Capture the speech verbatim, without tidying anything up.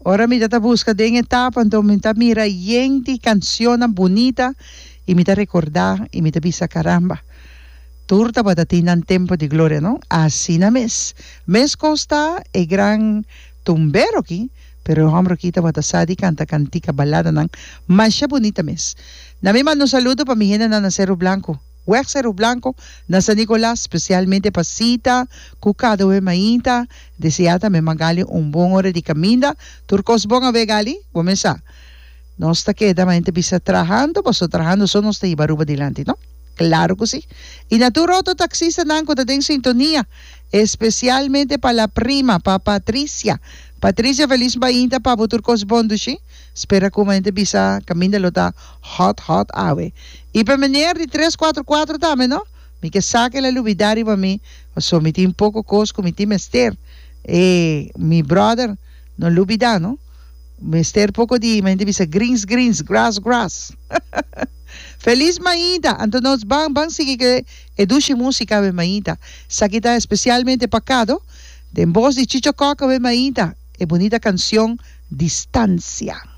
Ora mi ta buska den e tapa, anto mi ta mira yen di kanshonnan bunita i mi ta rekordá i mi ta bisa karamba. Tur tabatin nan tempu di gloria, no? Asina mes. Meskos ta e gran tumbero aki, pero e hòmber aki tabata sa di kanta kantika baladanan masha bunita mes. Na mi manda un saludo pa mi hendenan na Seru Blanku. Weg Seru Blanku na San Nicolas, spesialmente pa Sita ku Kado e mainta. Deseá tambe Magali un bon ora di kaminda. Tur kos bon awe Gali? Bo mes sa. Nos ta keda mainta bisa trahando, paso trahando so nos ta hiba Aruba dilanti, no? Claro cu si. Y na tur otro taxistanan cu ta den sintonia, especialmente pa la prima, pa Patricia. Patricia, feliz mainta pa bo, tur cos bon dushi. Spera cu mainta bisa caminda lo ta hot hot awe. Y pa meneer di tres cuatro cuatro tambe, no? Mi ke sa cu el a lubida riba mi, paso mi tin poco cos cu mi tin mester. E, mi brother, no lubida, no? Mester poko di mente bisa greens greens, grass grass. Feliz mainta! Anto nos ban ban sigui ku e dushi músika awe mainta. Esaki ta espesialmente pa Kado, den bos di Chicho Kok awe mainta, e bunita kanshon Distansia.